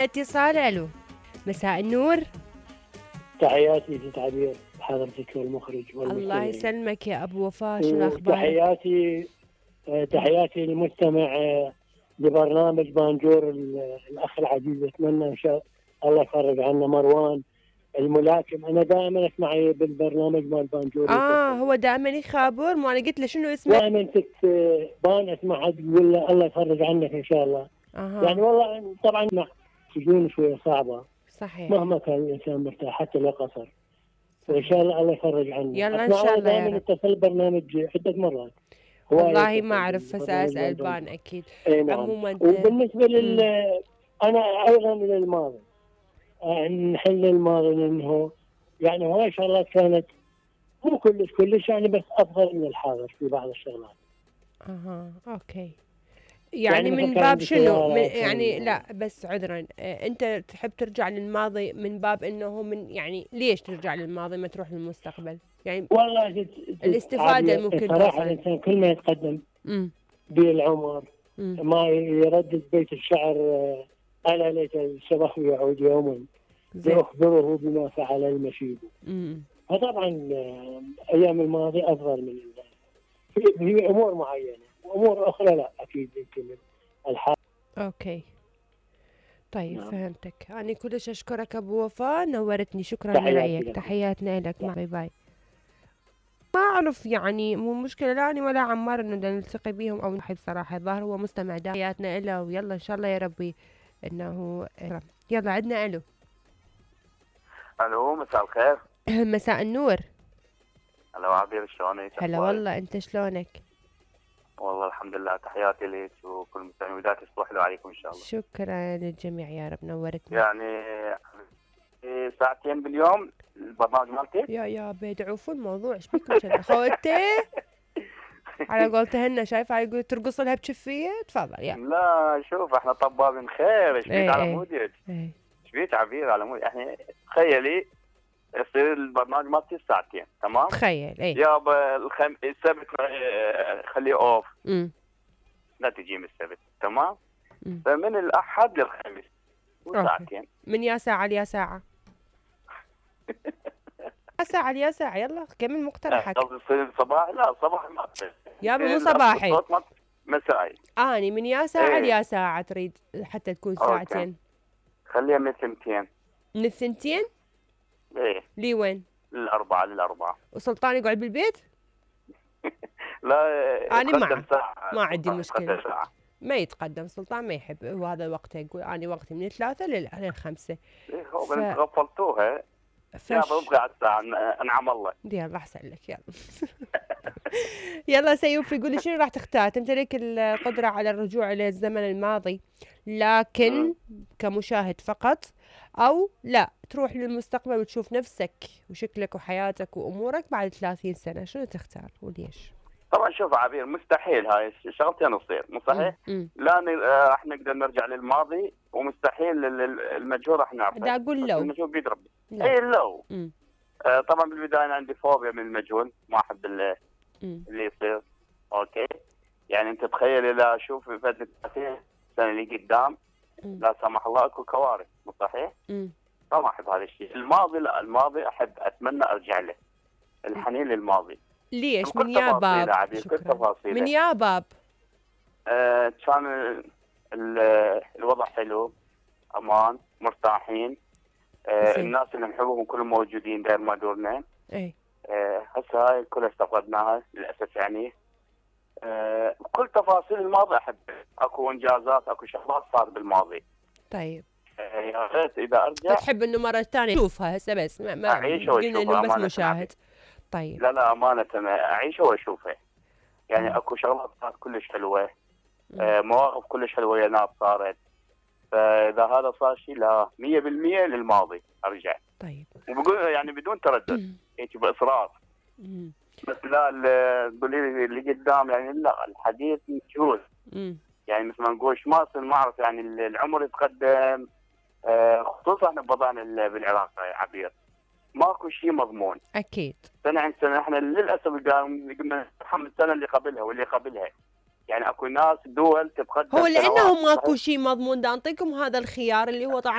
اتصال. الو، مساء النور. تحياتي ست عبير حضرتك والمخرج الله والمستمعين. يسلمك يا ابو وفاء، شنو اخبارك؟ تحياتي للمستمع لبرنامج بانجور الاخ العزيز. اتمنى ان شاء الله يفرج عنا مروان الملاكم. انا دائما اسمع بالبرنامج مال بانجور. هو دائما يخابر، ما انا قلت له شنو اسمه؟ دائما بان اسمع تقول له الله يفرج عنك ان شاء الله. يعني والله طبعا سجون شويه صعبه، صحيح، مهما كان الانسان مرتاح حتى لو قصر. وان شاء الله الله يفرج عنه. يلا ان شاء الله يا رب. اتصل برنامج عده مرات. والله ما اعرف، فساسال بان اكيد. نعم. عموما وبالنسبه انا ايضا للماضي، نحل الماضي لانه يعني هاي شغلات كانت مو كلش يعني، بس افضل من الحاضر في بعض الشغلات. اوكي. يعني من باب شنو؟ يعني لا بس عذرا، انت تحب ترجع للماضي من باب انه من يعني ليش ترجع للماضي ما تروح للمستقبل؟ يعني والله الاستفاده ممكن صراحه الانسان كل ما يتقدم بالعمر ما يردد بيت الشعر الا ليت الشبح يعود يوما لأخبره بما فعل المشيب. فطبعا ايام الماضي افضل من في امور معينه، وامور اخرى لا اكيد يمكن الحال. اوكي طيب نعم. فهمتك. أنا كلش أشكرك أبو وفاء، نورتني. شكرا لرأيك. تحياتنا لك. باي باي. ما أعرف يعني مو مشكلة لا أنا ولا عمار إنه نلتقي بيهم أو نحب صراحة. الظاهر هو مستمع. تحياتنا له ويلا إن شاء الله يا ربي إنه يلا. عندنا ألو. ألو، مساء الخير. مساء النور. هلا عبير، شلونك؟ هلا والله، أنت شلونك؟ والله الحمد لله. تحياتي لك وكل المستمعين، وداعي تصبح له عليكم ان شاء الله. شكرا للجميع يا رب، نورتنا. يعني ساعتين باليوم البرنامج مالتك؟ يا بيدعوا الموضوع. ايش بيكم كذا خوتي؟ على قولتهن شايفه هاي يقول ترقص لها بشفيه. تفضل يلا. لا شوف احنا طبابين خير. ايش بيك على مودك؟ ايش بيك عبير على مودك؟ احنا تخيلي يصير البرنامج مالتي ساعتين، تمام؟ تخيل يابا السبت خليه اوف. لا تجي من السبت، تمام؟ فمن الاحد للخميس وساعتين. من يا ساعه ليا ساعه. ساعه ليا ساعه. يلا كمل مقترحك. تصير صباح؟ لا صباح ما تصير يابا، مو صباحي، مسائي. اني من يا ساعه ليا ساعه تريد حتى تكون ساعتين. خليها من الثنتين. من الثنتين؟ ايه. لي وين؟ للأربعة. وسلطان يقعد بالبيت؟ لا أنا معه، ما عندي مشكلة. ما يتقدم سلطان، ما يحب. وهذا وقته يقول أنا وقتي من 3 لل5. إيه هو انت غفلتوها. يا ببقى على الساعة. انعم الله. يلا أحسن لك. يلا. يلا سيوف يقول لي شنو راح تختار؟ تمتلك القدرة على الرجوع إلى الزمن الماضي لكن كمشاهد فقط، أو لا تروح للمستقبل وتشوف نفسك وشكلك وحياتك وأمورك بعد 30 سنة. شنو تختار وليش؟ طبعا شوف عبير، مستحيل هاي شغلتين تصير، مو صحيح؟ لا راح نقدر نرجع للماضي، ومستحيل المجهول راح نعرفه. دا أقول لو المجهول بيد ربي. اي لو. طبعا بالبداية أنا عندي فوبيا من المجهول، ما أحب اللي يصير. اوكي، يعني انت تخيل اذا اشوف فتره 30 سنه اللي قدام لا سمح الله اكو كوارث، مو صحيح؟ ما احب هذا الشيء. الماضي لا، الماضي احب اتمنى ارجع له. الحنين للماضي. ليش؟ من يا باب. من يا باب. كان الوضع حلو، امان، مرتاحين، الناس اللي نحبهم كلهم موجودين داير ما دورنا. هسه هاي كلها استفقدناها للاسف يعني. كل تفاصيل الماضي احبها. اكو انجازات، اكو شغلات صارت بالماضي. طيب يا ريت اذا ارجع. تحب انه مره ثانيه اشوفها هسه بس ما اعيشها واشوفها بس مشاهد. طيب لا امانه اعيشها واشوفها. يعني اكو شغلات صارت كلش حلوه، مواقف كلش حلوه يا ناس صارت. فاذا هذا صار شيء لا 100% للماضي ارجع. طيب وبقول يعني بدون تردد هيك باصرار. بس لا تقولي لي اللي قدام يعني لا، الحديث مجهول. يعني مثل ما نقول ما اعرف يعني العمر يتقدم، خصوصا احنا بوضعنا بالعراق يا عبير ماكو شيء مضمون. اكيد سنه عن سنه احنا للاسف قلنا السنه اللي قبلها واللي قبلها. يعني اكو ناس دول تتقدم هو لانه سنوات. ماكو شيء مضمون، دا نعطيكم هذا الخيار اللي هو طبعا